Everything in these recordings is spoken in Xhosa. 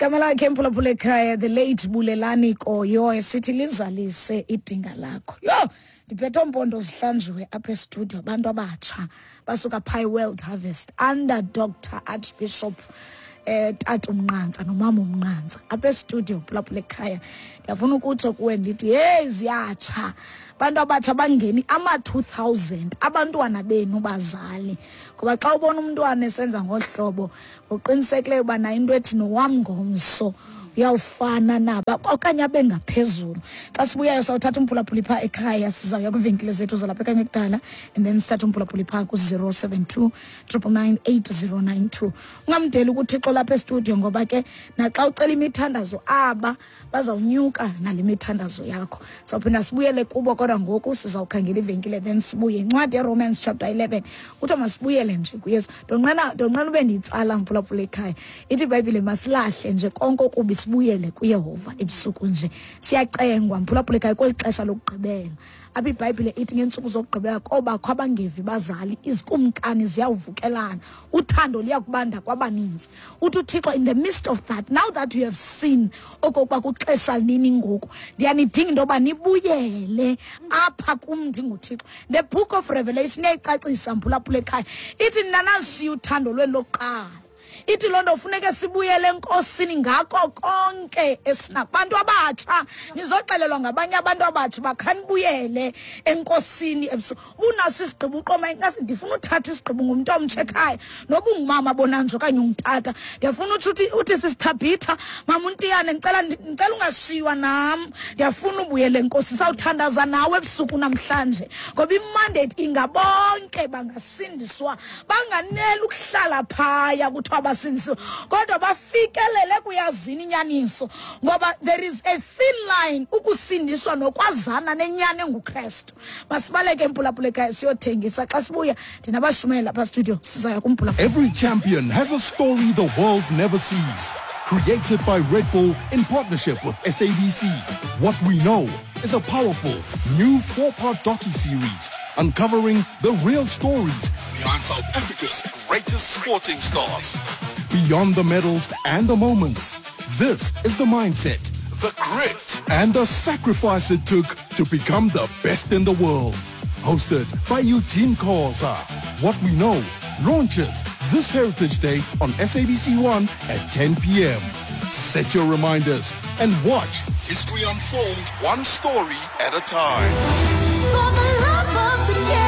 Igama lakhe, mphulaphula ekhaya, the late Bulelani Koyo, esithi "Lizalise idinga lakho." Yho, ndiphethe ompondo zihlanjiwe apha estudio, abantu abatsha basuka phi World Harvest under Dr Archbishop tata uMnqantsa nomama uMnqantsa apha estudio. Phulaphula ekhaya, ndiyafuna ukutsho kuwe ndithi, heyi, ziyatsha. Abantu abatsha bangeni ama-2000, abantwana benu bazali, ngoba xa ubona umntwana esenza ngohlobo, ngokuqinisekileyo uba nayo into ethi nowam ngomso uyawufana naba okanye abe ngaphezulu. Xa sibuyayo sawuthatha umphulaphuli phaa ekhaya. Sizawuya kwiivenkile zethu zalapha ekhaya kudala and then sithathe umphulaphuli phaa ku-072 999 8092. Ungamdeli kuThixo lapha estudio, ngoba ke naxa ucela imithandazo, aba bazawunyuka nale mithandazo yakho. Sawuphinda sibuyele kubo, kodwa ngoku sizawukhangela ivenkile, then sibuye. Incwadi yeRomans chapter 11 kuthiwa masibuyele nje kuYesu. Ndonqena ube ndiyitsala, mphulaphula ekhaya. Ithi iBhayibhile masilahle nje konke okubi, sibuyele kuYehova. Ebusuku nje siyacengwa, mphulaphula ekhaya, kweli xesha lokugqibela apha iBhayibhile ithi ngeentsuku zokugqibela kobakho abangevi bazali, izikumkani ziyawuvukelana, uthando liyakubanda kwabaninzi. Uthi uThixo, in the midst of that, now that you have seen okokuba kuxesha nini ngoku, ndiyanidinga into yoba nibuyele apha kum, ndinguThixo. The Book of Revelation iyayicacisa, mphulaphula ekhaya, ithi nina nazishiya uthando lwenu lokuqala. Ithi loo nto funeke sibuyele eNkosini ngako konke esinako. Bantu abatsha, nizoxelelwa ngabanye abantu abatsha uba khanibuyele eNkosini ebusuku. Ubunaso isigqibo, uqoma ingase ndifuna uthatha isigqibo ngumntu omtsha ekhaya, noba ungumama bonanje okanye ungutata, ndiyafuna utsho uthi sisithabhitha, mama uNtiyane, ndicela ungashiywa nam, ndiyafuna ubuyele eNkosini. Sawuthandaza nawe ebusuku namhlanje, ngoba imandate ingabonke bangasindiswa, banganeli ukuhlala phaya kuthiwa basindisiwe, kodwa bafikelele kuyazini inyaniso, ngoba there is a thin line ukusindiswa nokwazana nenyani enguKrestu. Masibaleke, mphulaphula ekhaya, siyothengisa. Xa sibuya ndinabashumayela apha studio, sizaya kumphulaphula. Every champion has a story the world never sees. Created by Red Bull in partnership with SABC. What We Know is a powerful new four-part docu-series uncovering the real stories behind South Africa's greatest sporting stars. Beyond the medals and the moments, this is the mindset, the grit, and the sacrifice it took to become the best in the world. Hosted by Eugene Khoza. What We Know launches this Heritage Day on SABC1 at 10 p.m. Set your reminders and watch history unfold one story at a time. For the love of the game.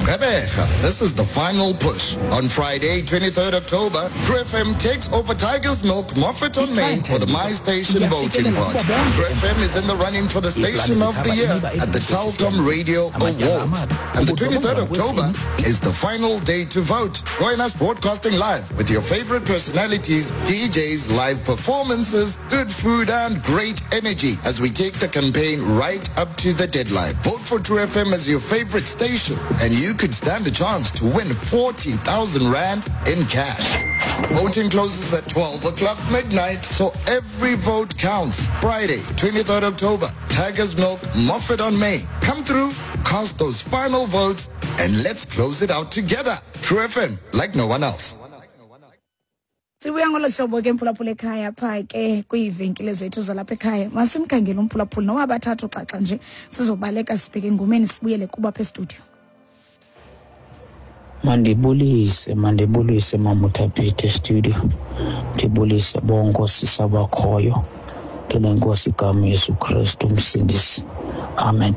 Gqeberha, this is the final push. On Friday, 23rd October, True FM takes over Tiger's Milk Moffat on Main for the My Station voting party. True FM is in the running for the Station of the Year at the Telkom Radio Awards. And the 23rd October is the final day to vote. Join us broadcasting live with your favorite personalities, DJs, live performances, good food and great energy as we take the campaign right up to the deadline. Vote for True FM as your favorite station and you could stand a chance to win 40,000 Rand in cash. Voting closes at 12 o'clock midnight, so every vote counts. Friday, 23rd October, Tiger's Milk, Moffat on Main. Come through, cast those final votes, and let's close it out together. True FM, like no one else. Sibuya ngolo hlobo ke, mphulaphula ekhaya, phaa ke kwiivenkile zethu zalapha ekhaya. Masimkhangele umphulaphuli noba bathathu xaxa nje, sizobaleka sibheke engomeni, sibuyele kuba apha estudio. Mandibulise, mandibulise, mama uThabithe studio, ndibulise bonke oosisi abakhoyo ngelenkosi igama Yesu Kristu umsindisi, amen.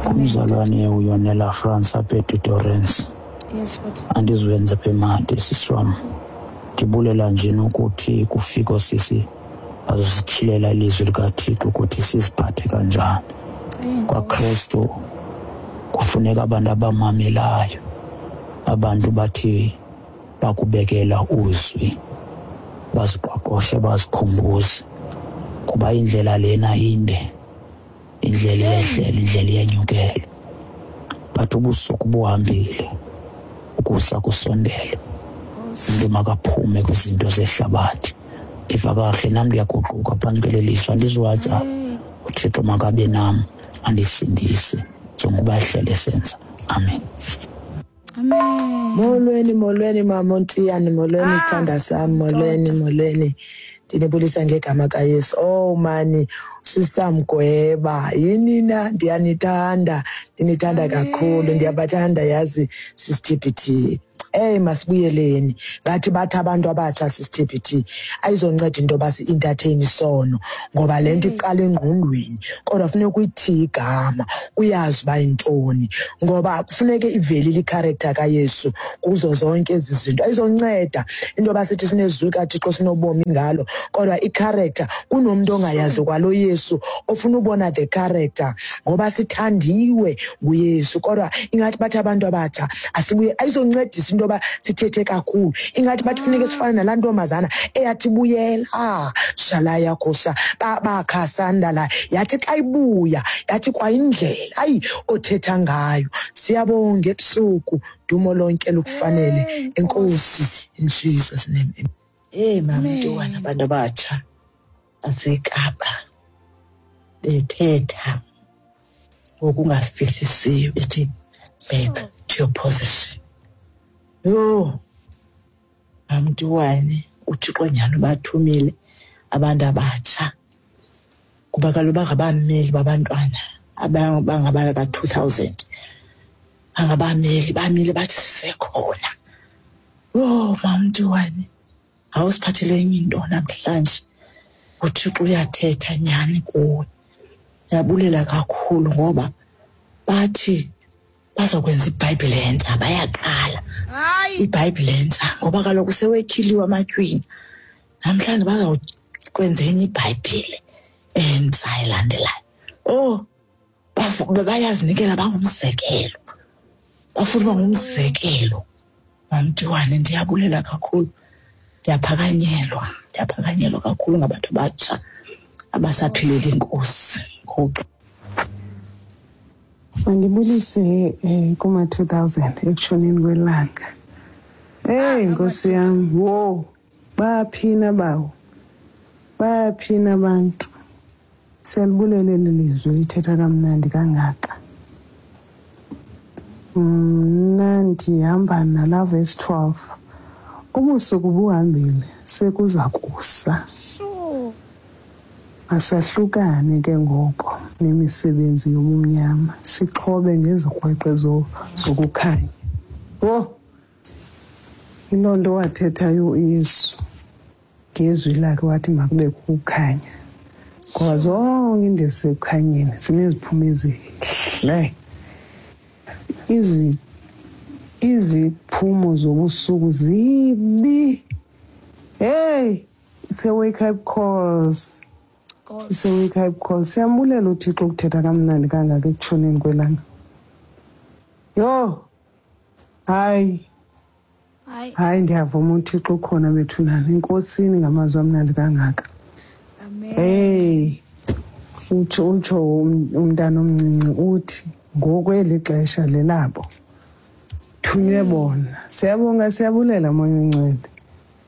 Ngumzalwane uYonela France apha eDutorens. Yes, but Andizuyenza apha emade, sisi wam. Ndibulela nje nokuthi kufika oosisi bazosityhilela ilizwi likaThixo ukuthi siziphathe kanjani kwaKrestu. Kufuneka abantu abamamelayo, abantu bathi bakubekela uzwi baziqoqoshe, bazikhumbuze, kuba indlela lena inde, indlela iyehlela, indlela iyenyukela, but ubusuku buhambile, ukusa kusondele. Umntu makaphume kwizinto zehlabathi. Ndiva kahle nam, ndiyaguquka phantsi kweli lizwi. Andizuwhatsapp, uThixo makabe nam, andisindise njengoba ehlele senza, amen. Amen. Molweni, molweni mama Ntiyani, molweni sithanda sami, molweni, molweni. Ndinibulisa ngegama kaYesu. Oh mani, Sister Mgweba, yini na ndiyanithanda, ndinithanda kakhulu, ndiyabathanda yazi sisTBT. Ey masibuyeleni. Ngathi bathi abantu abatsha sisTBT ayizonceda into yoba si-entertain isono ngoba le nto iqala engqondweni, kodwa funeka uyithiye igama, uyazi uba yintoni, ngoba kufuneke ivelile ikharektha kaYesu kuzo zonke ezi zinto. Ayizonceda into yoba sithi sinezwi kaThixo sinobomi ngalo, kodwa ikharektha kunomntu ongayazi kwalo Yesu ofuna ubona the character ngoba sithandiwe nguYesu. Kodwa ingathi bathi abantu abatsha asibuye, ayizoncedisa into yoba sithethe kakhulu. Ingathi bathi funeke sifane nalaa ntombazana eyathi buyela shalaya khosa bakhasanda la, yathi xa ibuya yathi kwayindlela ayi othetha ngayo. Siyabonga ebusuku, dumo lonke lukufanele enkosi, in Jesus name. Hey mama Ntiwana, abantu abatsha baseKapa bethetha ngokungafihlisiyo bethi back to your position. Yho, mamntiwane, uThixo nyhani ubathumile abantu abatsha kuba kaloku bangabameli babantwana abangabala ka-2000, bangabameli, bamile bathi sisekhona. Yho, mamntiwane, awusiphathele enye into namhlanje. uThixo uyathetha nyhani kuwe. Ndiyabulela kakhulu ngoba bathi bazokwenza iBhayibhile entsha, bayaqala iBhayibhile entsha ngoba kaloku sewetyhiliwe amatywina. Namhlanje bazawukwenza enye iBhayibhile entsha elandelayo. Oh, bayazinikela, bangumzekelo, bafuna uba ngumzekelo. Mamntiwane, ndiyabulela kakhulu, ndiyaphakanyelwa, ndiyaphakanyelwa kakhulu ngabantu abatsha abasaphilela iNkosi. Ngoku mandibulise kuma-2000 ekutshoneni kwelanga. Hey Nkosi yam, wo baphina bawo, baphina abantu. Siyalibulela eli lizwi lithetha kamnandi kangaka. Mna ndihamba nala verse 12. Ubusuku buhambile, sekuza kusa. Masahlukane ke ngoko nemisebenzi yobumnyama, sixhobe ngezikrweqe zokukhanya. Wo, yiloo nto wathethayo uYesu ngezwi lakhe, wathi makube kukhanya, ngoba zonke iinto ezisekukhanyeni zineziphumo ezihle. Iziphumo zobusuku zibi. Hey, it's a wake up calls. It's a wake up call. Siyambulela uThixo ukuthetha kamnandi kangaka ekutshoneni kwelanga. Yho, hayi hayi, ndiyavuma uThixo ukhona bethunana. Enkosini ngamazwi amnandi kangaka. Hey, utsho umntana omncinci uthi ngoku eli xesha lelabo, thunywe bona. Siyabonga, siyabulela Moya oNgcwele.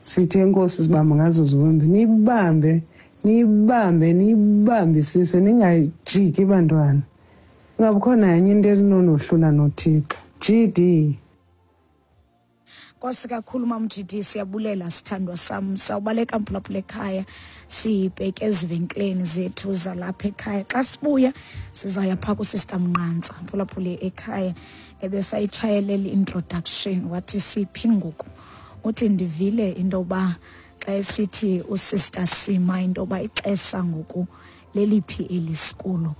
Sithi enkosi sibamba ngazo zombi, nibambe, nibambe, nibambisise, ningajiki bantwana. Kungabikhona enye into elinonohlula noThixo. GD. Nkosi kakhulu Mam GD, siyabulela sithandwa sam. Sawubaleka mphulaphula ekhaya, sibheke ezivenkileni zethu zalapha ekhaya. Xa sibuya sizaya phaa kuSister Mnqantsa mphulaphule ekhaya, ebesayitshayelela introduction wathi siphi ngoku. Uthi ndivile into yoba xa esithi uSister Sima into yoba ixesha ngoku leliphi elisikulo.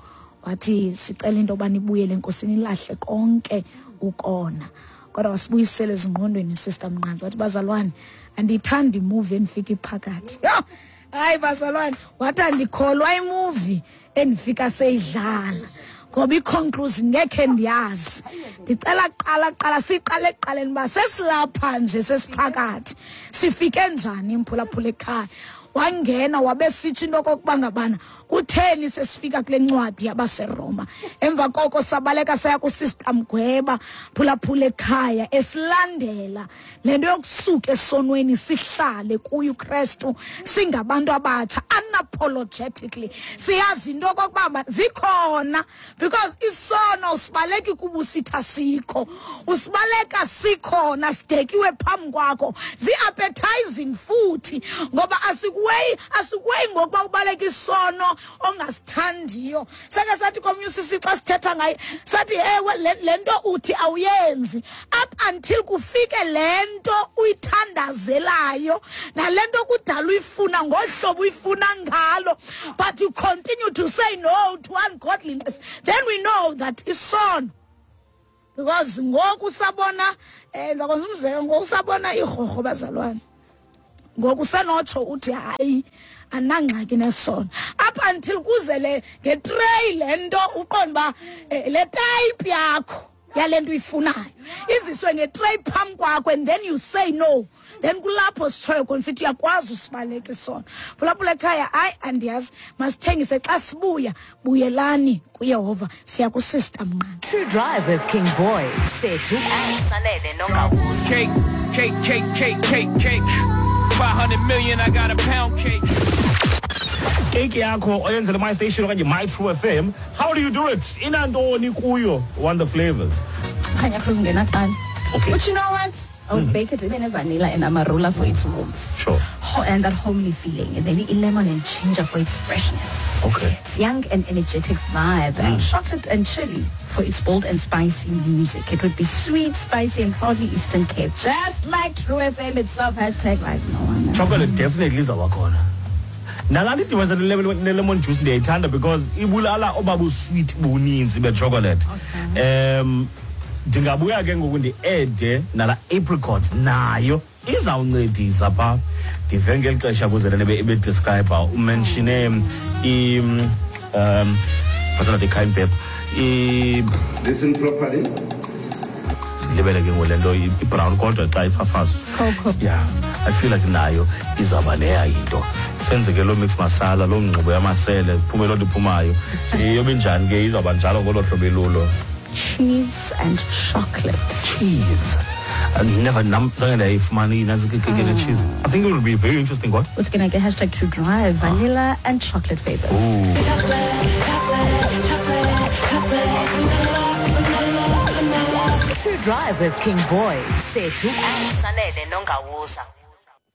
Wathi sicela into yoba nibuyele enkosini, ilahle konke ukona. Kodwa wasibuyisela ezingqondweni uSister Mnqantsa, wathi bazalwane andiyithandi imuvi endifika iphakathi. Yho, hayi bazalwane, wathi andikholwa imuvi endifika seyidlala ngoba i-conclusion ngekhe ndiyazi. Ndicela kuqala kuqala siqale ekuqaleni uba sesilapha nje sesiphakathi sifike njani mphulaphula ekhaya. Wangena wabesitsho into okokuba ngabana kutheni sesifika kule ncwadi yabaseRoma. Emva koko sabaleka saya kuSister Mgweba, phulaphula ekhaya, esilandela le nto yokusuka esonweni sihlale kuyo uKrestu singabantu abatsha unapologetically. Siyazi into okokuba zikhona, because isono usibaleki kuba usitha sikho, usibaleka sikhona sidekiwe phambi kwakho. Zi-appetizing futhi, ngoba asikuweyi ngokuba ubaleka isono ongasithandiyo. Sake sathi komnye usisi xa sithetha ngaye, sathi ewe le nto uthi awuyenzi up until kufike le nto uyithandazelayo nale nto kudala uyifuna ngohlobo uyifuna ngalo, but you continue to say no to ungodliness. Then we know that isono, because ngoku sabona ndizakwenza umzekelo, ngoku sabona irhorho bazalwane, ngoku senotsho uthi hayi anangxaki nesono up until kuze le ngetreyi le nto uqonda uba le type yakho yale nto uyifunayo iziswe ngetreyi phambi kwakho, and then you say no. Then kulapho sitshoyo khona sithi uyakwazi usibaleka isono. Phulaphula ekhaya, hayi andiyazi, masithengise xa sibuya, buyelani kuYehova. Siya kuSister Mnqandi. True Drive with King Boy, Sethu and Sanele Nongawuza. Cake, cake, cake, cake, cake, cake. 500 million, I got a pound cake. Cake yakho oyenzele My Station okanye My True FM. How do you do it? Inantoni kuyo? Want the flavors? Khanya kuzungena kuqala. Okay. But you know what? I would bake it in a vanilla and amarula for its warmth. Sure. And that homely feeling. And then lemon and ginger for its freshness. Okay. It's young and energetic vibe. And chocolate and chili for its bold and spicy music. It would be sweet, spicy, and proudly Eastern Cape. Just like True FM itself. Hashtag like no one. Chocolate definitely is our corner. Nalani dibanisa ne-lemon juice ndiyayithanda because ibulala obabu sweet buninzi be-chocolate. Ndingabuya ke ngoku ndi-ede nala apricot nayo izawuncedisa pha. Ndive ngeli xesha kuze le ebedescribe umenshine i cayenne pepper. Listen properly. Ndilibele ke ngoku le nto i-brown kodwa xa ifafazwa. Yeah, I feel like nayo izawuba leya into. Senze ke loo mix masala, loo ngxubo yamasele, iphume loo nto iphumayo. Iyobe njani ke, izawuba njalo ngolo hlobo elulo. Cheese and chocolate. Cheese. I never cheese. I think it will be very interesting. What? It's gonna get hashtag True Drive, vanilla and chocolate flavors. Ooh. Chocolate, chocolate, chocolate, chocolate, vanilla, vanilla, vanilla. True Drive with King Boy, Sethu and Sanele Nongawuza.